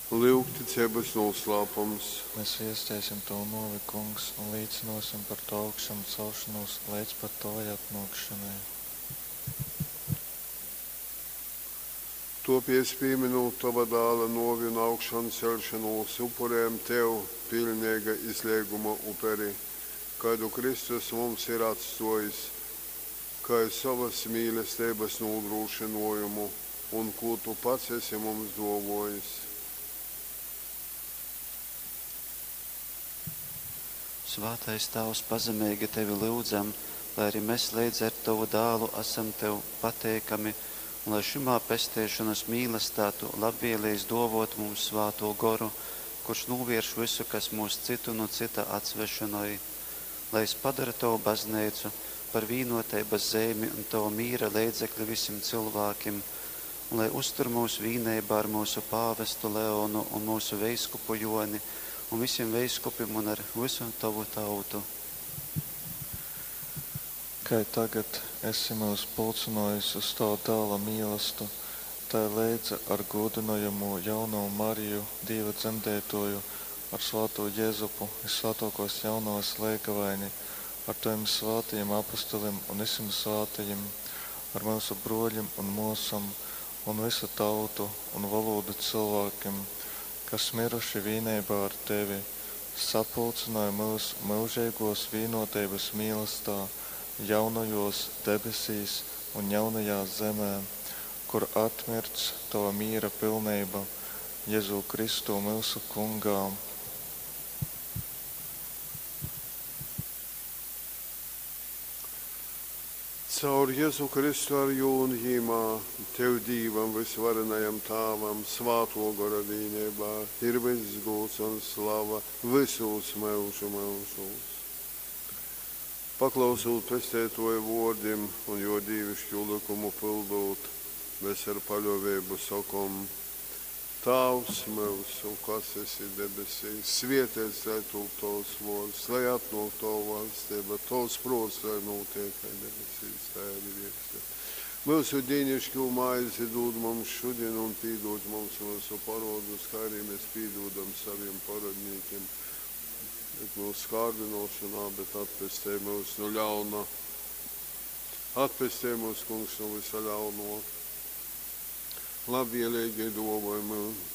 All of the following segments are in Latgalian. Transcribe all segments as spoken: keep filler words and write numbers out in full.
Lyugticeibas nūslāpums. Mēs viesteisim Tavu nōvi, Kungs, un līcynōsim par Tavu augšamcelšonūs leidz pat Tovai atnōkšonai. Tōpēc, pīmynūt Tova Dāla nōvi un augšanceļšonūs, upurejam Tev piļneiga izleiguma uperi, kaidu Kristus mums ir atstōjis kai sovas mīlesteibas nūdrūšynōjumu un kū Tu pats esi mums dōvōjis. Svātais Tāvs, pazemeigi Tevi lyudzam, lai ari mes leidza ar Tovu Dālu asam Tev pateikami un lai šymā pesteišonas mīlastā Tu labvielejis dōvōt mums Svātū Goru, kurš nūvierš vysu, kas myus cytu nu cyta atsvešynoj. Lai Jys padora Tovu Bazneicu par vīnōteibas zeimi un Tova mīra leidzekli vysim cylvākim, un lai uztur myus vīneibā ar myusu pāvestu Leonu un myusu veiskupu Jōni un vysim veiskupim un ar vysu Tovu tautu. Kai tagad esi myus pulcynōjis uz Tova Dāla mīlastu, tai leidza ar gūdynojamū Jaunovu Mariju, Dīva Dzemdeitōju, ar svātū Jezupu, Vyssvātōkōs Jaunovas leigavaini, ar Tovim svātajim apostolim un vysim svātajim, ar myusu brōļim un mōsom un vysu tautu un volūdu cylvākim, kas myruši vīneibā ar Tevi, sapulcynoj myus myužeigōs vīnōteibas mīlastā jaunajōs debesīs un jaunajā zemē, kur atmirdz Tova mīra pilneiba, Jezū Kristū myusu Kungā. Caur Jezu Kristu ar jū un jimā, Tev, Dīvam, vysvarenajam Tāvam, Svātō Gora vīneibā, ir vyss gūds un slava vysūs myužu myužūs. Paklausūt Pesteitōja vōrdim un jō dīviškū lykumu pyldūt, mes ar paļōveibu sokom, Tāvs myusu, kas esi debesīs, svēteits lai tūp tovs vōrds, lai atnōk tova vaļsteiba, tovs prōts, lai nūtiek kai debesīs, tai arī viers zemes. Myusu dīnišķū maizi dūd mums šodien un pīdūd mums myusu parodus, kā arī mēs pīdūdam saviem parodnīkiem. Bet mūsu kārdinošanā, bet atpestej mūs no ļauna. Atpestej mūs, Kungs, no visa ļauno. Labvēlīgi dōvoj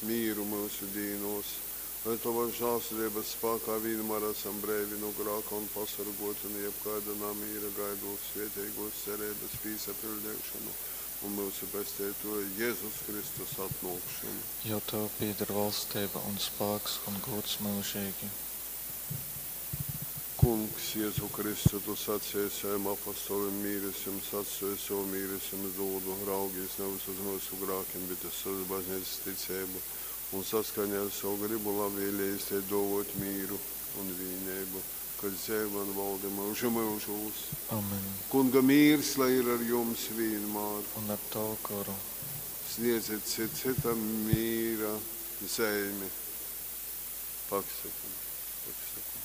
mīru myusu dīnos, lai Tova žālsirdības spākā vienmēr esam breivi no grāka un pasargoti no jebkāda namīra, gaidot svētīgos cerības pīsapildīšanu un myusu Pesteitoja Jēzus Kristus atnākšanu. Jo Tev pieder valstība un spēks un gods mūžīgi. Kungs, Jēzu Kristu, Tu sacīji saviem apostolim, mīres jums atstāju, savu mīres jums dodu, raugies nevis uz mūsu grākiem, bet uz savas baznīcas ticību, un saskaņā ar savu gribu labvēlījies te dovot mīru un vienību, kas dzīvo un valda mūžu mūžos. Amen. Kunga mīrs, lai ir ar jums vienmēr. Un ar Tavu goru. Sniedziet cit citam mīra zeimi. Paksakam, paksakam.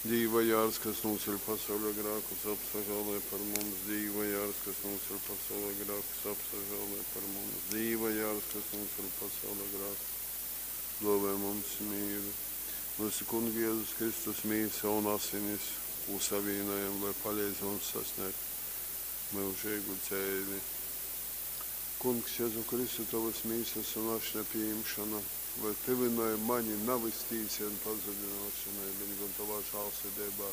Dīva jārs, kas nūceļ pasaules grēkus, apsažālē par mums. Dīva jārs, kas nūceļ pasaules grēkus, apsažālē par mums. Dīva jārs, kas nūceļ pasaules grēkus, dāvā mums mīru. Mūsu Kunga Jēzus Kristus mīsa un asinis, kū savīnojam, lai palīdz mums sasniegt mūžīgu dzīvi. Kungs, Jēzu Kristu, tavas mīsas un ašņa pieņemšana, lai tevinoja mani nav tīci un pazudināšanai, bet gan tavā žālsirdībā,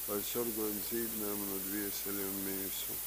lai sargoj un dzīdināj manu dvieseli un mīsu.